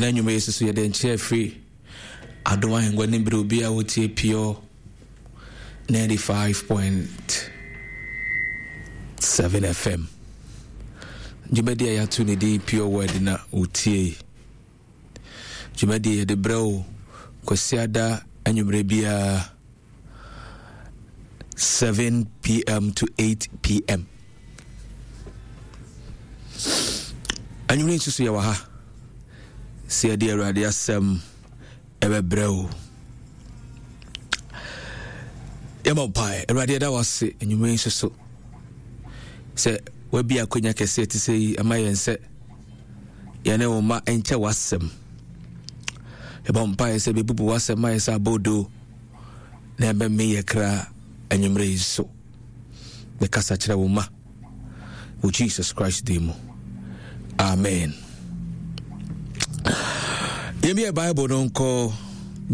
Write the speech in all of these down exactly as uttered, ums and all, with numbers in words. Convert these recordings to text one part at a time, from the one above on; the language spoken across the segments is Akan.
Ɛna nnwuma yi soso yɛde nkyerɛ firi Adom Ahengua ne berɛ obi a wotie Pure ninety-five point seven F M. Dwumadi a yɛato ne din Pure Word na wotie. Dwumadi yɛde brɛ wo Kwasiada anwummerɛ biara seven p m to eight p m. Anwummerɛ nso so yɛwɔ ha sɛ yɛde Awurade asɛm ɛbɛbrɛ wo. Yɛma mpae. Awurade, yɛda wo ase anwummerɛ nso so sɛ wabi akwanya kɛseɛ te sɛ yi ama yɛn sɛ yɛne wo ma nkyɛ w'asɛm. Yɛbɔ mpaeɛ sɛ bɛbubu w'asɛm ma yɛ sɛ abɔdoo na ɛbɛme yɛ kra. Anwummerɛ yi so bɛkasa kyerɛ wo ma wɔ Jesus Christ din mu, amen. Yɛmbiɛ Bible no nkɔ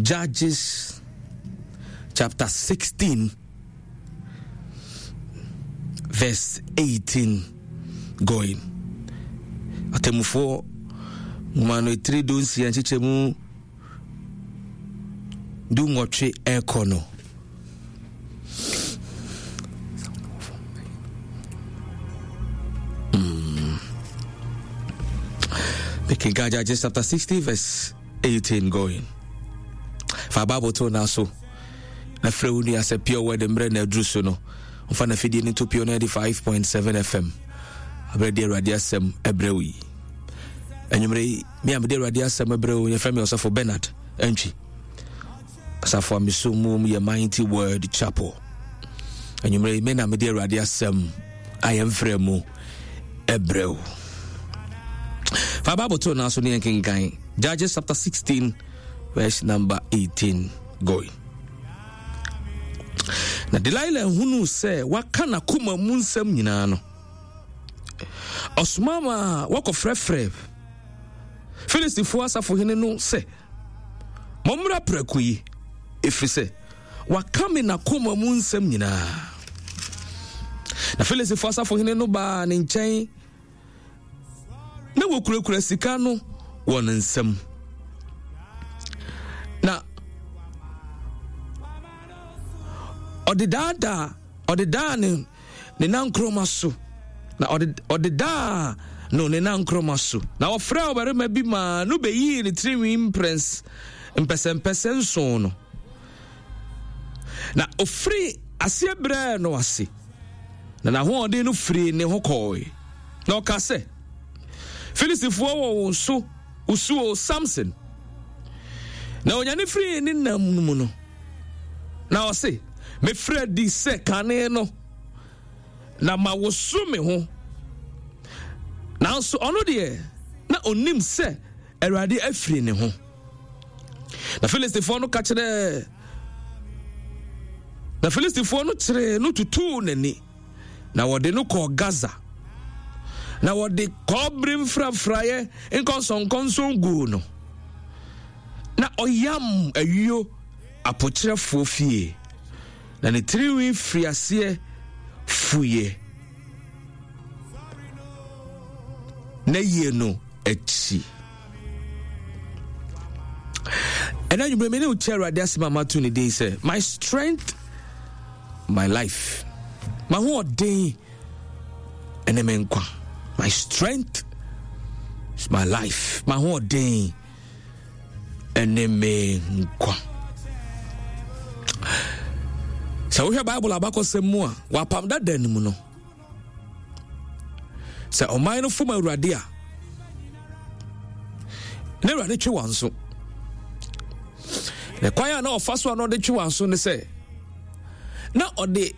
Judges chapter sixteen verse eighteen going. Atemmufoɔ nwoma no etiri du nsia nkyekyɛ mu du nwɔtwe ɛkɔ no. Mm. Mekenka Judges chapter sixteen verse eighteen going. Fa Bible to na so na frɛ wo nua sɛ Pure Word mmerɛ na aduru so no, mfa na fidie no to Pure ninety-five point seven F M aberɛ de Awurade asɛm ɛbrɛ wo yi. Anwummerɛ yi, me a mede Awurade asɛm ɛbrɛ wo, yɛfrɛ me Ɔsɔfo Bernard Antwi. Asafo a meso mu yɛ Mighty Word Chapel. Anwummerɛ yi, me na mede Awurade asɛm a yɛmfrɛ mu ɛbrɛ wo. Fa Bible to no so ne yɛnkenkan Judges chapter sixteen verse number eighteen going. Na Delilah hunuu sɛ waka n'akoma mu nsɛm nyinaa no, ɔsoma ma wɔkɔfrɛfrɛ Filistifoɔ asafohene no sɛ, "Mommra prɛko yi, ɛfiri sɛ waka me n'akoma mu nsɛm nyinaa." Na Filistifoɔ asafohene no baa ne nkyɛn na wɔkurakura sika no wɔ ne nsam na ɔde daadaa ɔde daa ne ne nankoroma so na ɔde ɔde daa no ne nankoroma so. Na ɔfrɛ ɔbarima bi maa no bɛyii ne tirinwi mprɛns mpɛsɛmpɛsɛ nson no, na ofiri aseɛ brɛɛ no ase, na n'ahoɔden no firii ne ho kɔɔe. Na ɔka sɛ, "Filistifoɔ wɔ wo so wosuo, Samson." Na onyane firii ne nam no mu no, na ɔse, "Mefiri adi sɛ kane no na ma woso me ho." Nanso ɔno deɛ, na onim sɛ Awurade afiri ne ho. Na Filistifoɔ no ka kyerɛɛ na Filistifoɔ no kyeree no tutuu n'ani, na wɔde no kɔɔ Gaza, na wɔde kɔbere mfrafraeɛ nkɔnsɔnkɔnsɔn guu no, na ɔyam ayuo apokyerɛfoɔ fie, na ne tirinwi firi aseɛ fuiɛ na yie no akyi. Ɛna nwumere me ne wo kyɛ Awurade asɛm a mato ne din sɛ "My Strength, My Life", mahoɔden ɛne me nkwa. My strength is my life. Mahoɔden ɛne me nkwa. Sɛ wohwɛ Bible abakɔsɛm mu a, wapam dada no mu no, sɛ ɔman no fom Awurade a, na Awurade twe wɔn so. Na kwan a na ɔfa so a na ɔde twe wɔn so ne sɛ na ɔde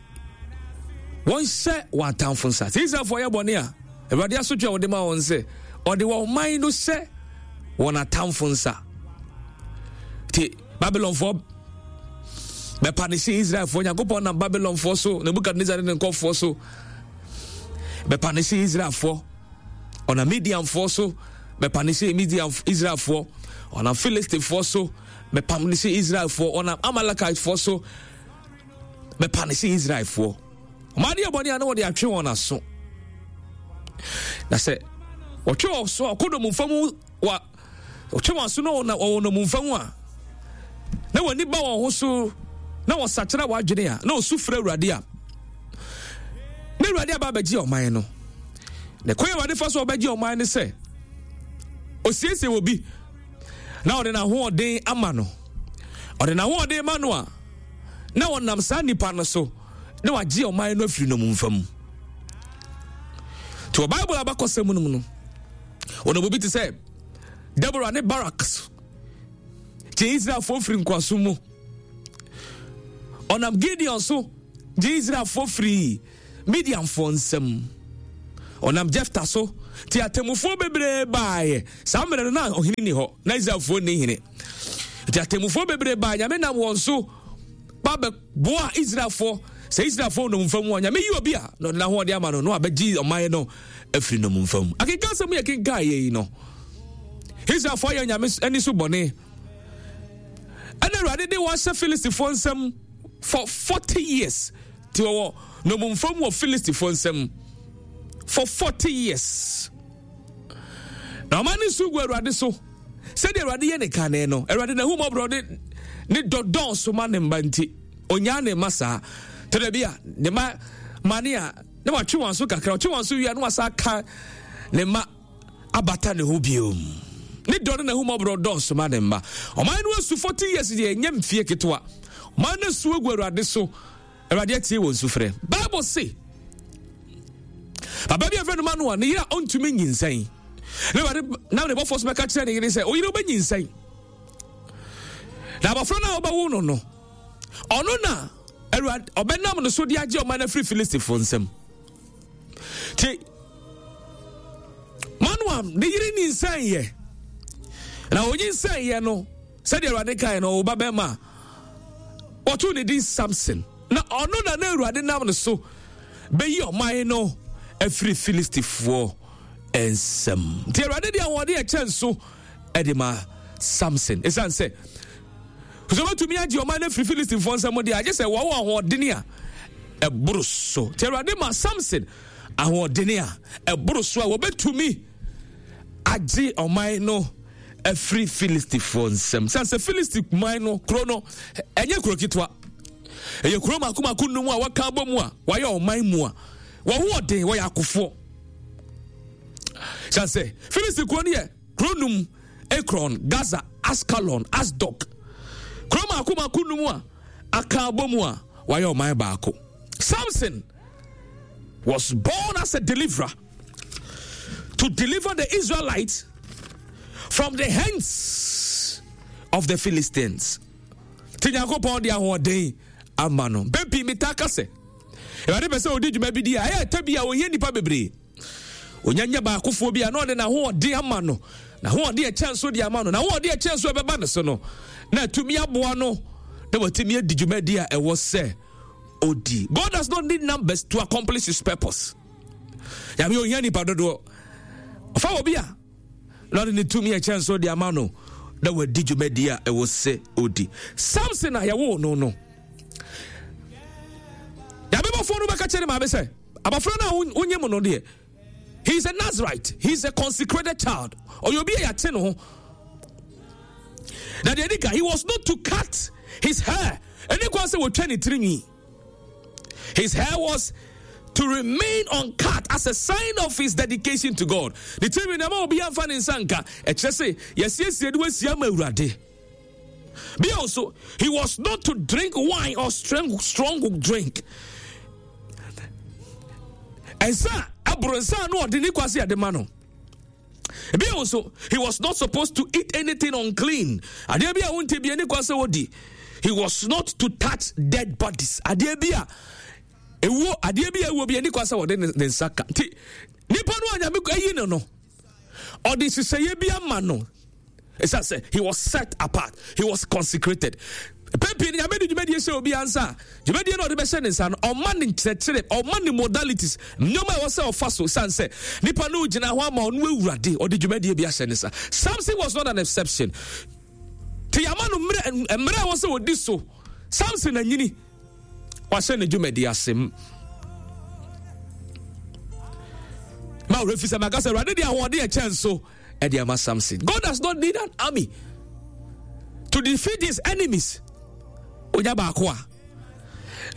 wɔn hyɛ wɔn atamfo nsa. Sɛ Israelfoɔ yɛ bɔne a, Awurade asotwe a wɔde ma wɔn sɛ ɔde wɔn man no hyɛ wɔn atamfo nsa. Te Babylonfoɔ bɛpa ne hyɛ Israelfoɔ. Nyankopɔn nam Babylonfoɔ so, Nebukadnezar ne ne nkɔfoɔ so bɛpa ne hyɛ Israelfoɔ. Ɔnam Midianfoɔ so bɛpa ne hyɛ Midian Israelfoɔ. Ɔnam Philistifoɔ so bɛpam ne hyɛ Israelfoɔ. Ɔnam Amalekitefoɔ so bɛpa ne hyɛ Israelfoɔ. Ɔmo adeɛ bɔne a na wɔde atwe wɔn aso, na sɛ wɔtwe wɔn so a, ɔkɔ domumfa mu wɔ Ɔtwe wɔn aso na wɔwɔ nnommumfa mu a, na wɔn ani ba wɔn ho so na wɔsakyera wɔn adwene a, na wɔsu frɛ Awurade a, na Awurade aba abɛgye ɔman no. Na kwan Awurade fa so ɔbɛgye ɔman no sɛ, osiesie wɔ bi na ɔde n'ahoɔden ama no. Ɔde n'ahoɔden ma no a, na ɔnam saa nipa no so na wagye ɔman no afiri nnommumfa mu. Nti wɔ Bible abakɔsɛm no mu no, wɔn obi te sɛ Deborah ne Barak gye Israelfoɔ firi nkoasom mu. Ɔnam Gideon so gye Israelfoɔ firi Midianfoɔ nsam. Ɔnam Jefta so te atemmufoɔ bebree baeɛ. Saa mmerɛ no na ɔhene ni hɔ, na Israelfoɔ nni hene. Nti atemmufoɔ bebree baeɛ, Nyame nam wɔn so ba bɛboa Israelfoɔ. Sɛ Israelfoɔ nnommumfa mu a, Nyame yi obi a na ɔde n'ahoɔden ama no na wabɛgye ɔman no afiri nnommumfa mu. Akenkan asɛm yɛ kenkan yɛ yi no, Israelfoɔ ayɛ Nyame ani so bɔne. Ɛna Awurade de wɔn ahyɛ Filistifoɔ nsam for forty years. Ti wɔwɔ nnommumfa mu wɔ Filistifoɔ nsam for forty years. Na ɔman no su gu Awurade so sɛdeɛ Awurade yɛ ne kane no. Awurade n'ahummɔborɔ ne ne dɔ dɔɔso ma ne mma nti, onyaa ne mma saa. Tɛdɛ bi a ne mma mane a na watwe wɔn so kakra, ɔtwe wɔn so wie a na wasa aka ne mma abata ne ho biom. Ne dɔ ne n'ahummɔborɔ dɔɔso ma ne mma. Ɔman no asu forty years deɛ, ɛnyɛ mfie ketewa. Ɔman no asu agu Awurade so. Awurade atie wɔn sufrɛ. Bible se papa bi a yɛfrɛ no Manoa, ne yere a ɔntumi nyinsɛn. Na Awurade nam ne bɔfoɔ so bɛka kyerɛ ne yere sɛ, oyere wobɛnyinsɛn. Na abɔfra no a wobɛwo no no, ɔno na Awurade ɔbɛnam no so de agye ɔman no afiri Filistifoɔ nsam. Nti Manoa ne yere nyinsɛn yɛ. Na onyinsɛn yɛ no, sɛdeɛ Awurade kae no, ɔwo ba bɛrima a wɔtoo ne din Samson. Na ɔno na na Awurade nam no so bɛyi ɔman no afiri Filistifoɔ nsam. Nti Awurade de ahoɔden ɛkyɛn so de ma Samson. Ɛsiane sɛ sɛ wobɛtumi agye ɔman no afiri Filistifoɔ nsam deɛ, agye sɛ wɔwɔ ahoɔden a ɛboro so. Nti Awurade ma Samson ahoɔden a ɛboro so a wɔbɛtumi agye ɔman no afiri Filistifoɔ nsam. Sane sɛ Filisti man no kuro no ɛnyɛ kuro ketewa, ɛyɛ kuro mako mako nnum a wɔka abɔ mu a wɔayɛ ɔman mu a wɔn ho ɔden, wɔyɛ akofoɔ. Sane sɛ Filisti kuro no yɛ kuro num: Ekron, Gaza, Askalon, Asdod. Kuro mako mako num a aka abɔ mu a wɔayɛ ɔman baako. Samson was born as a deliverer to deliver the Israelites from the hands of the Philistines. Ti Nyankopɔn de ahoɔden ama no. Mpɛn pii metaa ka sɛ, Awurade pɛ sɛ ɔdi dwuma bi di a, ɛyɛ ɛta bi a ɔhia nnipa bebree. Ɔnya nyɛ baakofoɔ bi a na ɔde n'ahoɔden ama no, n'ahoɔden ɛkyɛn so de ama no, n'ahoɔden ɛkyɛn so ɛbɛba ne so no, na atumi aboa no na watumi adi dwumadi a ɛwɔ sɛ odi. God does not need numbers to accomplish his purpose. Nyame ohia nipa dodoɔ. Ɔfa wɔ bi a na ɔde ne tumi ɛkyɛn so de ama no na wadi dwumadi a ɛwɔ sɛ odi. Samson a yɛwoo no no, Nyame bɔfoɔ no bɛka kyerɛ ne maame sɛ abɔfra no a wonye mu no deɛ, he is a Nazarite, he is a consecrated child. Ɔyɛ obi a yɛate ne ho. Na deɛ ɛdi ka, he was not to cut his hair. Ɛne kwan sɛ wɔtwa ne tirinwi. His hair was to remain uncut as a sign of his dedication to God. Ne tirinwi na ɛma obi amfa ne nsa nka. Ɛkyerɛ sɛ yɛsiesie de wasia ma Awurade. Bio so, he was not to drink wine or strong, strong drink. Nsa aboro nsa no ɔde ne kwasi ade ma no. Bio nso, he was not supposed to eat anything unclean. Adeɛ bi a wonte bi ani kwa sɛ wodi. He was not to touch dead bodies. Adeɛ bi a ewuo, adeɛ bi a ewuo bi ani kwa sɛ wɔde ne nsa ka. Nti nipa no a Nyame ayi no no, ɔde nhyehyɛeɛ bi ama no. Ɛsiane sɛ he was set apart, he was consecrated. Pɛn pii no Nyame de dwumadie hyɛ obi ansa a, dwumadie no ɔde bɛhyɛ ne nsa no, ɔma ne nkyerɛkyerɛ, ɔma ne modalities, nneɛma a ɛwɔ sɛ ɔfa so. Sane sɛ nipa no gyina hɔ ama ɔno Awurade, ɔde dwumadie bi ahyɛ ne nsa. Samson was not an exception. Te yɛama no mmerɛ mmerɛ a ɛwɔ sɛ ɔdi so. Samson anyini, wahyɛ ne dwumadie ase. Ma ɔwerɛ fi sɛ maka sɛ Awurade de ahoɔden ɛkyɛn so Ɛde ama Samson. God does not need an army to defeat his enemies. Onya baako a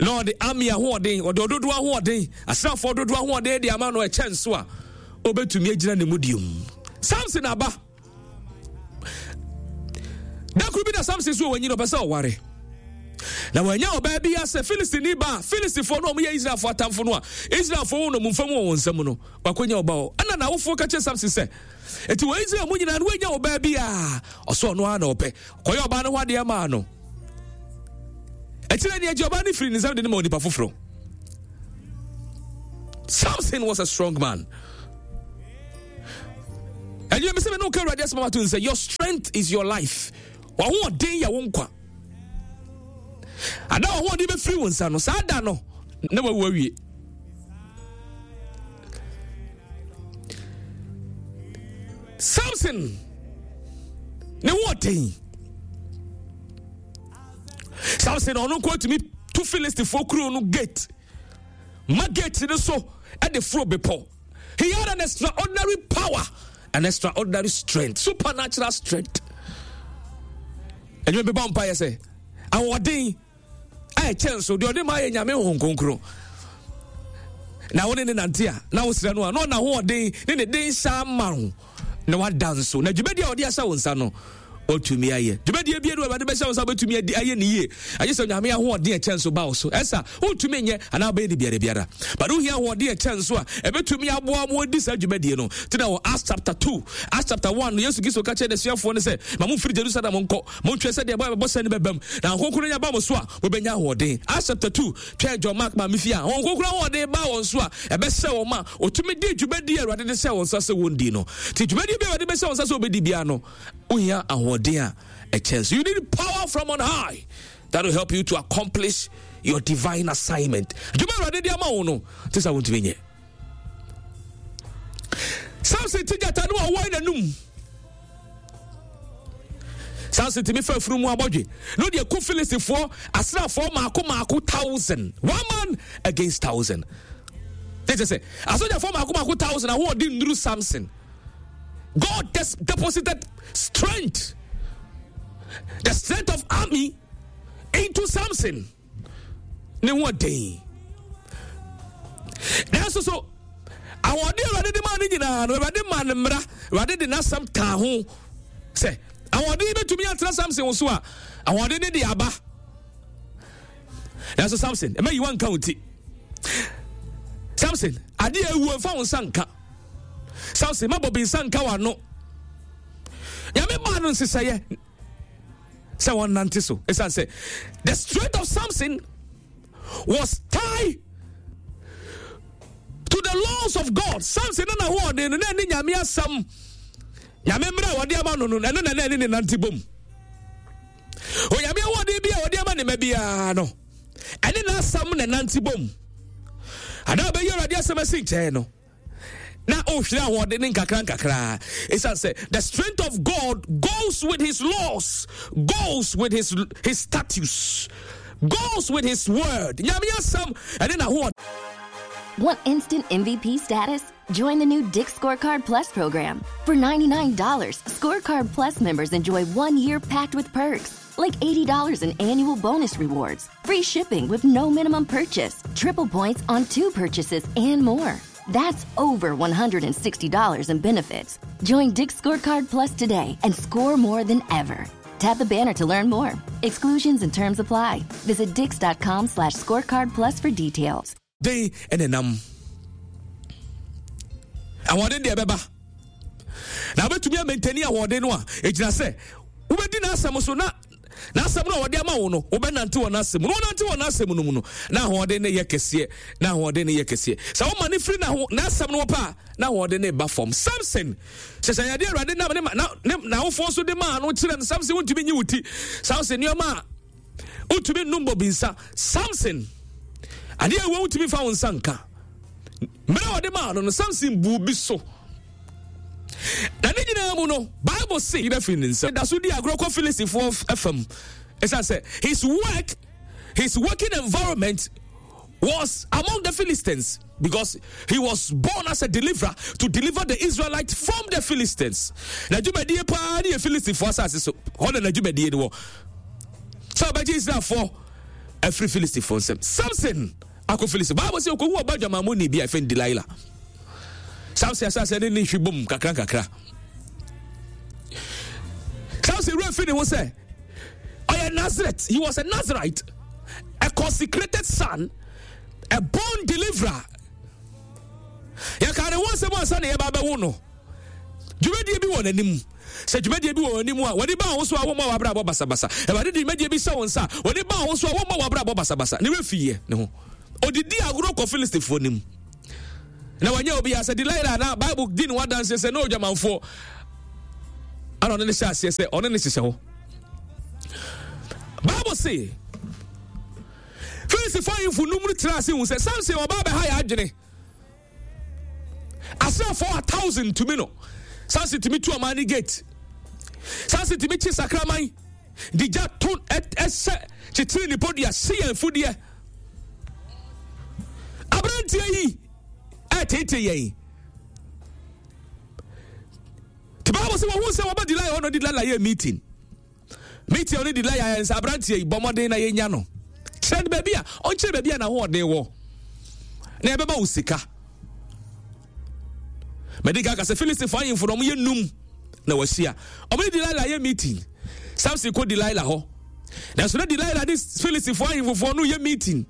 na ɔde army ahoɔden, ɔde ɔdodoɔ ahoɔden, asraafoɔ dodoɔ ahoɔden de ama no ɛkyɛ nso a obetumi agyina ne mu diom. Samson aba. Da koro bi na Samson so wɔ nyina ɔpɛ sɛ ɔware. Na wanya ɔbaa bi asɛ Filistini ba a Filistifoɔ no a wɔyɛ Israelfoɔ atamfo no a Israelfoɔ wɔ nnommumfa mu wɔ wɔn nsam no, wakɔnya ɔba hɔ. Ɛna n'awofoɔ ka kyerɛ Samson sɛ, enti wɔ Israel mu nyinaa no woanya ɔbaa bi a ɔsɛ ɔno ara na ɔpɛ. Kɔyɛ ɔbaa no ho adeɛ maa no. Akyire ni agye ɔbaa no firi ne nsam de no ma onipa foforɔ. Samson was a strong man. Ɛnyɛ mi sɛ mi n'o kɛ Awurade asɛm ato nsɛ your strength is your life. W'ahoɔden yɛ wo nkwa. Ada w'ahoɔden bɛfiri wo nsa no saa da no na wawu awie. Samson ne hoɔden. Samson ɔno nko atumi tu Filistifoɔ kuro no gate ma gate no so de foro bepɔ. He had an extraordinary power, an extraordinary strength, supernatural strength. Ɛnyɛ bɛbɔ mpa yɛ sɛ ahoɔden a ɛkyɛn so deɛ ɔde ma yɛ Nyame Honhom Kronkron. Na wo ne ne nante a na wosrɛ no a na ɔna ahoɔden ne ne den hyɛ ama wo na wada nso na dwumadi a ɔde ahyɛ wo nsa no watumi ayɛ. Dwumadie bie no Awurade bɛhyɛ wo nsa wobɛtumi adi ayɛ ne yie agye sɛ Onyame ahoɔden ɛkyɛn so ba wo so. Ɛsa wontumi nyɛ anaa wobɛyɛ ne biara biara, but wohia ahoɔden ɛkyɛn so a ɛbɛtumi aboa mo adi saa dwumadie no. Nti na wɔ Acts chapter two, Acts chapter one no Yesu Kristo ka kyerɛ n'asuafoɔ no sɛ ma momfiri Jerusalem nkɔ, montwɛn sɛ deɛ ɛbɔ ɛbɛbɔ sɛ no bɛbam, na Honhom Kronkron nya ba mo so a mobɛnya ahoɔden. Acts chapter two, twɛn John Mark maame fie a Honhom Kronkron ahoɔden baa wɔn so a ɛbɛhyɛ wɔn ma wɔtumi di dwumadie a Awurade de hyɛ wɔn nsa sɛ wɔndi no. Nti dwumadie bi a Awurade bɛhyɛ wɔn nsa sɛ wɔbɛdi biara no, wohia ahoɔden a ɛkyɛn so. You need power from on high that will help you to accomplish your divine assignment. Dwuma Awurade de ama wo no, te sɛ wontumi nyɛ. Samson ti gyata no a ɔwɔ n'anum. Samson tumi fa afunu mu abɔdwe na ɔde aku Filistifoɔ asraafoɔ maako maako thousand. One man against thousand. Ne kyɛ sɛ asogyafoɔ maako maako thousand ahoɔden nnuru Samson. God des- deposited strength, the strength of army into Samson. Ne ho ɔden. Nanso so ahoɔden Awurade de maa no nyinaa no, Awurade maa no mmara, Awurade de n'asɛm kaa ho sɛ ahoɔden bɛtumi atena Samson so a, ahoɔden ne de aba. Nanso Samson, ɛma yiwa nka wo ti. Samson, adeɛ awuo mfa wo nsa nka. Samson, ma bɔbi nsa nka w'ano. Nyame maa no nhyehyɛeɛ sɛ wɔnnante so. Ɛsiane sɛ the strength of Samson was tied to the laws of God. Samson na n'ahoɔden no na ɛne Nyame asɛm, Nyame mmerɛ a wɔde ama no no, ɛno na na ɛne ne nante bom. Onyame ahoɔden bi a wɔde ama ne ma biara no, ɛne n'asɛm na ɛnante bom. Anaa ɔbɛyi Awurade asɛm asi nkyɛn no, na ɔhwere ahoɔden ne nkakra nkakra. Ɛsiane sɛ the strength of God goes with his laws, goes with his, his statutes, goes with his word. Nyame asɛm ɛne n'ahoɔden. Want instant M V P status? Join the new Dick's Scorecard Plus program. For ninety-nine dollars, Scorecard Plus members enjoy one year packed with perks, like eighty dollars in annual bonus rewards, free shipping with no minimum purchase, triple points on two purchases, and more. That's over one hundred and sixty dollars in benefits. Join Dick's Scorecard Plus today and score more than ever. Tap the banner to learn more. Exclusions and terms apply. Visit dicks dot com slash scorecard plus for details. Den ɛna nam. Ahoɔden deɛ ɛbɛba. Na wobɛtumi amɛntani ahoɔden no a ɛgyina sɛ wobɛdi n'asɛm so na n'asɛm no a wɔde ama wo no wobɛnante wɔ n'asɛm mu. Na wonante wɔ n'asɛm no mu no na ahoɔden no yɛ kɛseɛ, na ahoɔden no yɛ kɛseɛ. Sɛ woma no firi n'asɛm no wɔ pa a, na ahoɔden no ba fam. Samson hyɛ sɛ yɛde Awurade nam ne ma, na, ne, n'awofoɔ nso de maa no kyerɛ no. Samson wontumi nyi wo ti. Samson nneɛma a wotumi nnom bobinsa. Samson adeɛ a ɛwɔ wotumi fa wo nsa nka. Mmerɛ a wɔde maa no no, Samson buu bi so. Na ne nyinaa mu no, Bible se yerɛ firi ne nsam. Da so di agorɔ kɔ Filistifoɔ fam. Ɛsiane sɛ his work, his working environment was among the Philistines. Because he was born as a deliverer to deliver the Israelites from the Philistines. Na dwumadie paa ne yɛ Philistifoɔ asase so. Hɔ na n'adwumadie no wɔ. Sɛ ɔbɛgye Israelfoɔ afiri Philistifoɔ nsam. Samson akɔ Philistine. Bible sɛ ɔkɔhu ɔba dwamammɔni bi a ɛfɛn Delilah. Samson asase ne ne hwi bom kakra kakra. Samson wura fi ne ho sɛ ɔyɛ Nazareth. He was a Nazarite, a consecrated son, a born deliverer. Yɛka ne ho asɛm ansa na yɛba bɛwo no. Dwumadie bi wɔ n'anim. Sɛ dwumadie bi wɔ w'anim a, wɔde ba wo so a wɔmmɔ w'abrabɔ basabasa. Awurade de dwumadie bi hyɛ wo nsa a, wɔde ba wo so a wɔmmɔ w'abrabɔ basabasa. Ne werɛ fiiɛ ne ho. Ɔdidi agorɔ kɔ Filistifoɔ no mu. Na wanyɛ obiara sɛ Delilah na Bible di ne ho adanseɛ sɛ na odwamanfoɔ. Ana ɔne ne hyɛ aseɛ sɛ ɔne ne hyehyɛ hɔ. Bible se Filistifoɔ ahemfo num no tena ase hu sɛ Samson ɔba abɛha yɛ adwene. Asraafoɔ a thousand tumi no. Samson tumi tu ɔman ne gate. Samson tumi kye sakraman de gya to ɛhyɛ kyekyere nipadua hye yɛn fudeɛ. Aberanteɛ yi ɛtete yɛn. Te Bible sɛ wɔhu sɛ wɔba Delilah hɔ no Delilah yɛ meeting. Meeting a ɔne Delilah yɛ sɛ aberanteɛ yi bɔ mmɔden na yɛnya no. Kyerɛ no baabi a ɔnkyerɛ baabi a n'ahoɔden wɔ na ɛbɛma wo sika. Mɛde ka sɛ Filistifo ahemfo no wɔyɛ num na wɔahyia. Wɔne Delilah yɛ meeting. Samson kɔ Delilah hɔ. Nanso na Delilah ne Filistifo ahemfofoɔ no yɛ meeting.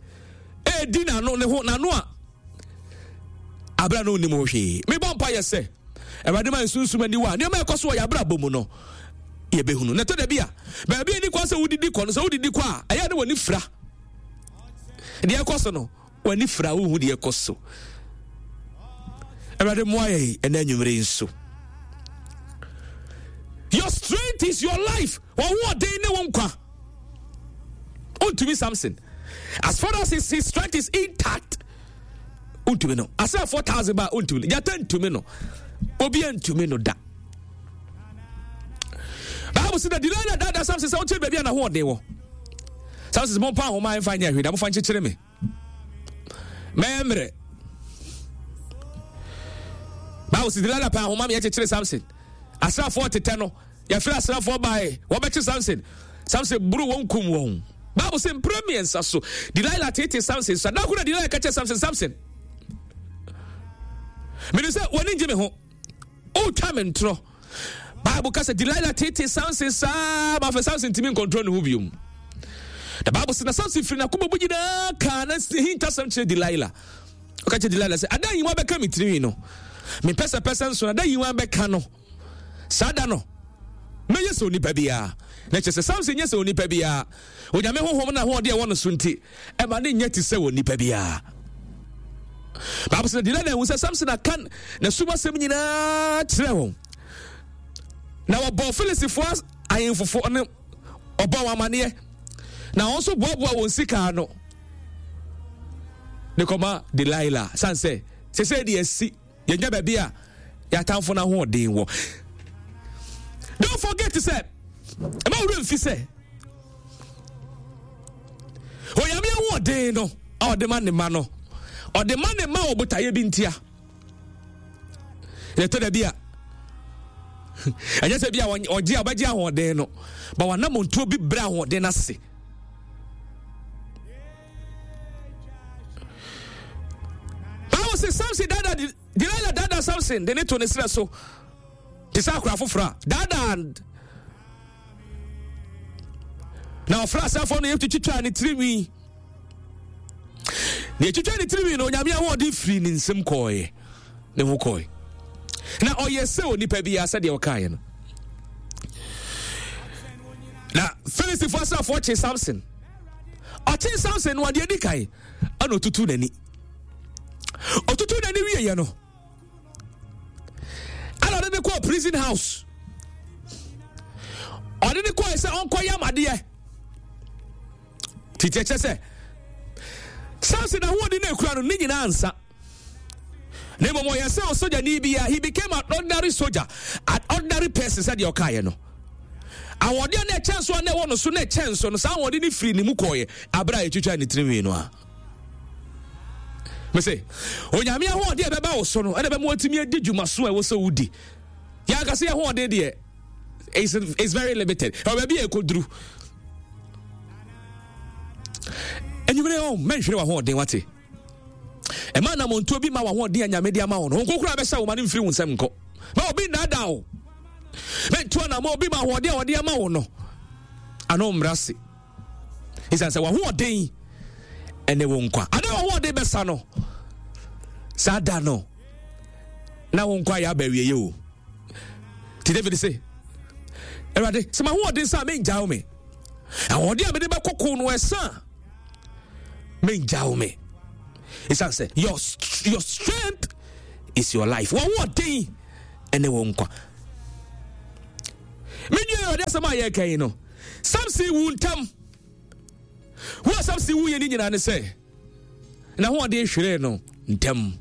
Ɛredi n'ano ne ho n'ano a abira no nnim ho hwee. Mebɔ mpa yɛ sɛ Awurade ma nsunsum aniwa a nneɛma ɛkɔ so wɔ yɛn abrabɔ mu no yɛbɛhunu. Na ɛtɔ da bi a baabi a ɛni kwan sɛ wodidi kɔ no sɛ wodidi kɔ a ɛyɛ ne w'ani fira. Deɛ ɛkɔ so no w'ani fira wohu deɛ ɛkɔ so. Awurade mmoa yɛn ɛnɛ anwummere yi nso. Your strength is your life. Wɔn ne wo nkwa. Wontumi Samson. As far as his, his strength is intact, wontumi no. Asɛ four thousand ba wontumi no. Gyata ntumi no. Obi ntumi no da. Bible sɛ na Delilah daadaa Samson sɛ wokyerɛ baabi a n'ahoɔden wɔ. Samson sɛ mompa ahoma mfa nyɛ hwee da mofa nkyekyere me. Mɛyɛ mmerɛ. Bible sɛ Delilah pɛ ahoma meyɛ kyekyere Samson. Asraafoɔ tetɛ no yɛfrɛ asraafoɔ bae wɔbɛkye Samson. Samson buru wɔn kum wɔn. Bible sɛ mprɛ mmiɛnsa so Delilah tete Samson so. Da koro na Delilah ka kyerɛ Samson, Samson, menim sɛ w'ani ngye me ho. Wotwa me ntorɔ. Bible ka sɛ Delilah tete Samson saa ma afei Samson ntumi nkontrol ne ho biom. The Bible sɛ na Samson firi n'akoma mu nyinaa kaa na hintasɛm kyerɛ Delilah. Ɔka kyerɛ Delilah sɛ ada yiwa bɛka me tirinwi no. Mepɛsɛpɛsɛ nso ada yiwa bɛka no. Saa da no mɛyɛ sɛ onipa biara. Na kyerɛ sɛ Samson nyɛ sɛ onipa biara. Onyame honhom na ahoɔden ɛwɔ no so nti ɛma ne nyɛ te sɛ onipa biara. Bible sɛ Delilah hu sɛ Samson aka n'asum asɛm nyinaa kyerɛ wɔn. Na wɔbɔɔ Filistifoɔ ahemfofoɔ no ɔbɔ wɔn amaneɛ. Na wɔn nso boaboa wɔn sika ano de kɔma Delilah. San sɛ sɛsɛ deɛ asi yɛnya baabi a yɛatamfo no ahoɔden wɔ. Don't forget sɛ ɛma wura mfi sɛ Onyame ahoɔden no a ɔde ma ne ma no ɔde ma ne ma wɔ botaeɛ bi ntia. Yɛtɔ da bi a ɛnyɛ sɛ bi a ɔgye a ɔbɛgye ahoɔden no ba wanamontuo bi brɛ ahoɔden no ase. Bible sɛ Samson dada Delilah dada Samson de ne to ne serɛ so te sɛ akora foforɔ a daadaa na ɔfrɛ asɛfoɔ no yɛtwitwitwaa ne tirinwi na yɛtwitwa ne tirinwi no Onyame ahoɔden firi ne nsam kɔɔeɛ ne ho kɔɔe na ɔyɛ sɛ onipa biara sɛdeɛ ɔkaeɛ no. Na Filistifoɔ asraafoɔ kye Samson. Ɔkye Samson no adeɛ adi kan ɛna ɔtutu n'ani. Ɔtutu n'ani wieɛ no ɛna ɔde ne kɔɔ prison house. Ɔde ne kɔɔ sɛ ɔnkɔyɛ amadeɛ. Titi ɛkyɛ sɛ Samson ahoɔden na ekura no ne nyinaa nsa. Na mmom ɔyɛ sɛ ɔsogyani bi a he became an ordinary soldier, an ordinary person sɛdeɛ ɔkaeɛ no. Ahoɔden a na ɛkyɛn so a na ɛwɔ no so na ɛkyɛn so no saa ahoɔden no firi ne mu kɔɔeɛ abere a yɛtwitwa ne tirinwi no a. Mese Onyame ahoɔden a ɛbɛba wo so no ɛna bɛma watumi adi dwuma so a ɛwɔ sɛ wodi. Yɛankasa yɛ ahoɔden deɛ is is very limited. Ɛwɔ baabi a ɛkɔduru. Anwummerɛ ɔ mɛnhwere w'ahoɔden, wate? Ɛma anammɔntuo bi ma w'ahoɔden a Nyame de ama wo no honko koraa bɛhyɛ wo ma no mfiri wo nsɛm nkɔ. Ma obi nnaadaa wo, mɛntu anammɔ obi ma ahoɔden a ɔde ama wo no ano mmra se, ɛsiane sɛ w'ahoɔden ɛne wo nkwa. Ada w'ahoɔden bɛsa no, saa da no na wo nkwa yɛ aba awieɛ o. Nti David se, "Awurade, sɛ mahoɔden sa a, mengya wo me. Ahoɔden a mede bɛkɔko no ɛsa a, mengya wo me," ɛsiane sɛ your, your strength is your life. W'ahoɔden ɛne wo nkwa. Menwie Awurade asɛm a yɛreka yi no, Samson wu ntam. Wo a Samson wuyɛ ne nyinaa ne sɛ n'ahoɔden hweree no ntɛm.